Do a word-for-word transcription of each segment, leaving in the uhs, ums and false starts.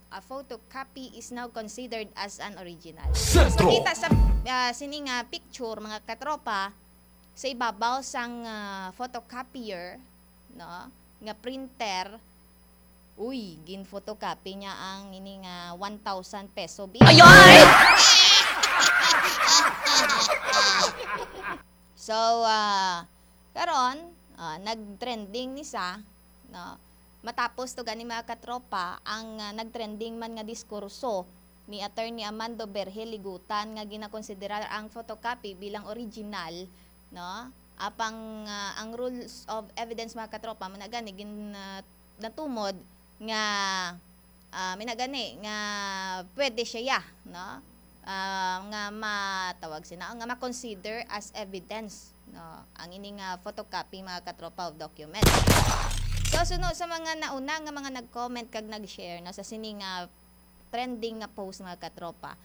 a photocopy is now considered as an original. So, Sentro. Kita sa, ah, sini nga picture, mga katropa, sa ibabaw sang, ah, photocopier, no, nga printer, uy, gin-photocopy niya ang ini nga one thousand peso bill. Ayoy! So, ah, karon, ah, nag-trending ni sa, no? Matapos to gani, mga katropa, ang, ah, nag-trending man nga diskurso ni Attorney Amando Berhe Ligutan nga ginakonsiderar ang photocopy bilang original, no? Apang, ah, ang rules of evidence, mga katropa, man gani gin, ah, natumod nga, ah, minagani nga pwede siya, no? Ah, nga matawag sina, nga ma-consider as evidence, no? Ang ini nga photocopy, mga katropa, of document. So, suno sa mga nauna nga mga nag-comment kag nag-share, no, sa sini nga trending nga post, mga katropa.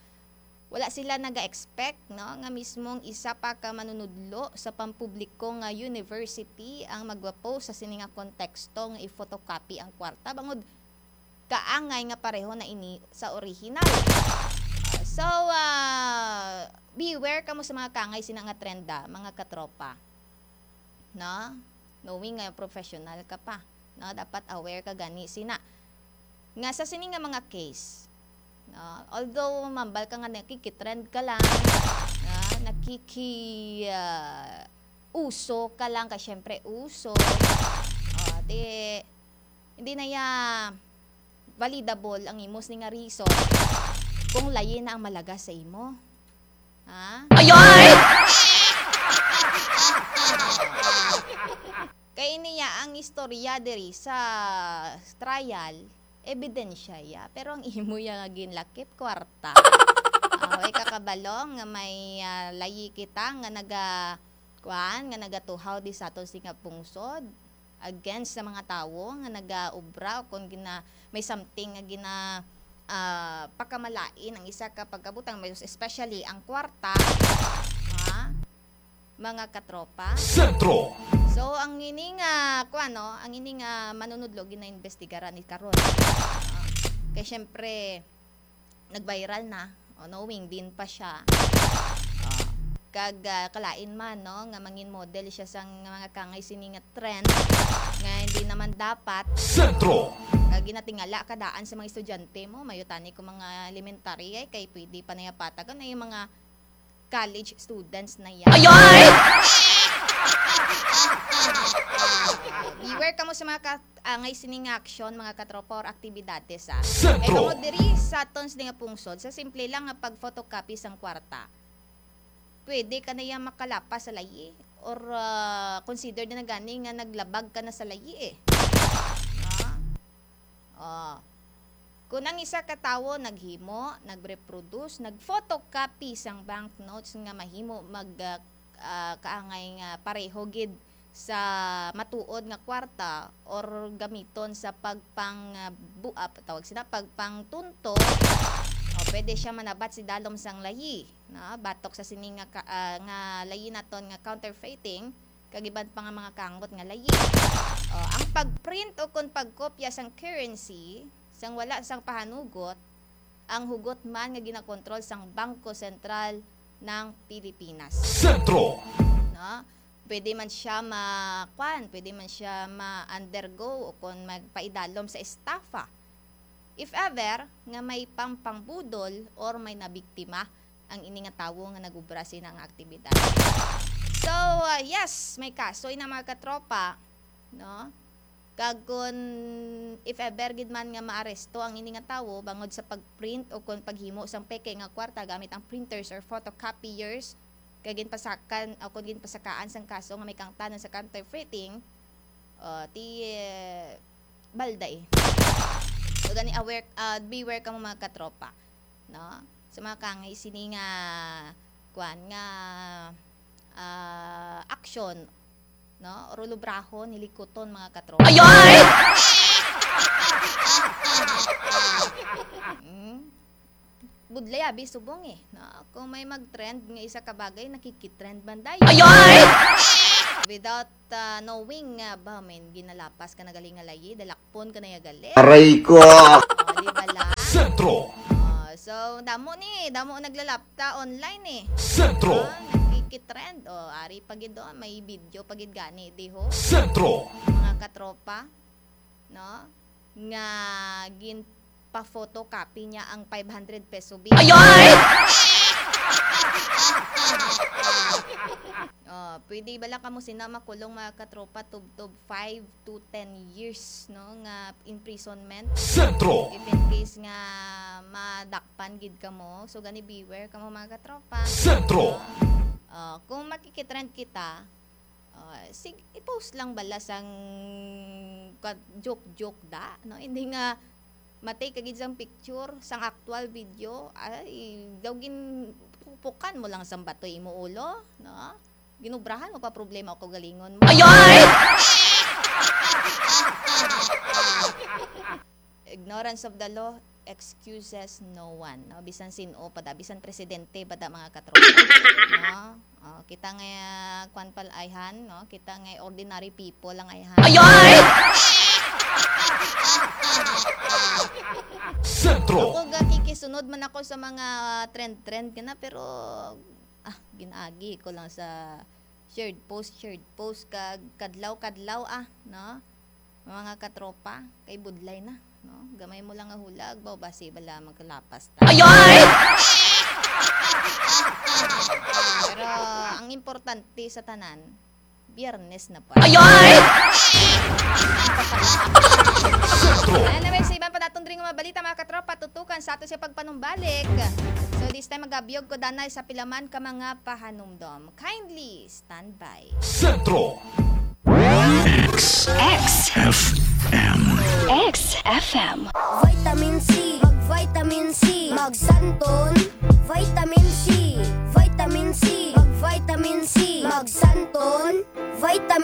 Wala sila naga-expect, no, nga mismong isa pa ka manunudlo sa pampubliko nga university ang magwa-post sa sini nga konteksto nga i-photocopy ang kwarta, bangod kaangay nga pareho na ini sa orihinal. Ah, so, ah, beware kamo sa mga kaangay sina nga trenda, mga katropa. No? Knowing nga professional ka pa, no? Dapat aware ka gani sina. Nga sa sini nga mga case, no? Although mambal ka nga nakikitrend ka lang, no? Nakiki, ah, uso ka lang, kay syempre uso. Oh, di, hindi na ya validable ang imo sini nga reason kung layi na ang malagas sa imo. Ha? Ayoy! Kay niya ang istorya diri sa trial, ebidensya ya, pero ang imo ya nga ginlakip, kwarta. Ah, way ka kabalo nga may, ah, layi kita nga naga-, kuan, nga nagatuhaw di sa aton sini nga pungsod against sa mga tawo nga nagaobra o kon gina-, may something nga gina-, ah, pakamalain ang isa ka pagkabutang, mas especially ang kwarta, ha, mga katropa. Sentro. So, ang ini nga, kuan, no, ang ini nga manunudlo, ginaimbestigaran ni karon. Ah, kay syempre, nag-viral na, o, knowing din pa siya. Ah, kag, ah, kalain man, no, nga mangin model siya sang mga kangay sini nga trend nga hindi naman dapat. Sentro. Kag ginatingala ka daan sa mga estudyante mo, mayutani ko mga elementary, ay, kay pwede pa na ya patagan, ay, mga college students na yan. Ayoy! Beware kamo sa mga ka-, angay sining aksyon, mga katropa, or aktibidades, ah. Sentro. Kay bangod diri sa aton sini nga pungsod, sa simple lang nga pag-photocopy sang kwarta, pwede ka na ya makalapas sa layi or, ah, considered na gani nga naglabag ka na sa layi, eh. No? Oh. Kung ang isa ka tawo naghimo, nag-reproduce, nag-photocopy sang banknotes nga mahimo mag, ah, ah, kaangay nga pareho gid sa matuod nga kwarta or gamiton sa pagpang, ah, bu-, ah, tawag sina, pagpangtunto, o pwede siya manabat sa idalom sang layi, no? Batok sa sini nga ka-, ah, nga layi naton nga counterfeiting, kag iban pa nga mga kangot nga layi. O, ang pag-print o kon pagkopya sang currency sang wala sang pahanugot, ang hugot man nga ginakontrol sang Bangko Sentral ng Pilipinas. Sentro. No? Pwede man siya ma-, kwan, pwede man siya ma-undergo o kon magpaidalom sa estafa. If ever nga may pangpangbudol or may nabiktima ang ini nga tawo nga nag-obra sina nga aktibidad. So, ah, yes, may kaso ina, mga katropa, no? Kag kun if ever gid man nga maaresto ang ini nga tawo bangod sa pag-print o kon paghimo sang peke nga kwarta gamit ang printers or photocopiers, kag ginpasakan o kon ginpasakaan sang kaso nga may kaangtanan sa counterfeiting, o, ti, eh, balda, eh. So, gani aware, ah, beware kamo, mga katropa, no? Sa mga kangay sini nga, kuan, nga, ah, aksyon, no? Or lubrahon, hilikuton, mga katropa. Ayoy! Mm. Budlay abi subong, eh, no? Kung may mag-trend nga isa ka bagay, nakikitrend man dayon. Ayoy! Without, ah, knowing nga, ba, men, ginalapas ka na gali nga layi, dalakpon ka na ya gali. Aray ko! O, di ba lang? Ah, so, damo ni, damo naglalapta online eh. Sentro. Ah, nagkikitrend. O, ari pa gid doon, may video pa gid gani diho. Sentro. Mga katropa, no? Nga ginpa-photocopy niya ang five hundred peso bill. Ayoy! Oh, pwede bala kamo sina makulong, mga katropa, tubtob five to ten years, no, nga imprisonment. Sentro. If in case nga madakpan gid kamo, so gani beware kamo, mga katropa. Sentro. Oh, kung makikitrend kita, oh, sig i-post lang bala sang ka-, joke-joke da, no? Hindi nga matay ka gid sang picture, sang actual video, ay, daw gin pupukan mo lang sang bato imo ulo, no? Ginubrahan mo pa problema o kaugalingon mo. Ayoy! Ignorance of the law excuses no one, no? Bisan sin-o pa da, bisan presidente pa da, mga katropa, no? Oh, kita nga, ah, kwan pal ayhan, no? Kita nga ordinary people lang ayhan. Ayoy! Sentro. Ako ga kikisunod man ako sa mga trend-trend kana, pero, ah, ginaagi ko lang sa shared post, shared post kag kadlaw-kadlaw, ah, no? Mga katropa, kay budlay na, no? Gamay mo lang nga hulag, baw basi bala magkalapas ta. Ayoy! Pero ang importante sa tanan, Biyernes na pa. Ayoy! Anyway, sa iban pa naton diri nga mga balita, mga katropa, tutukan sa ato siya pagpanumbalik. So, this time, magabiyog ko danay sa pilaman ka mga pahanumdom. Kindly stand by. Sentro. X. X. F M. X F M. Vitamin C, mag-vitamin C, magsanton. Vitamin C, vitamin C, mag-vitamin C, magsanton. Vitamin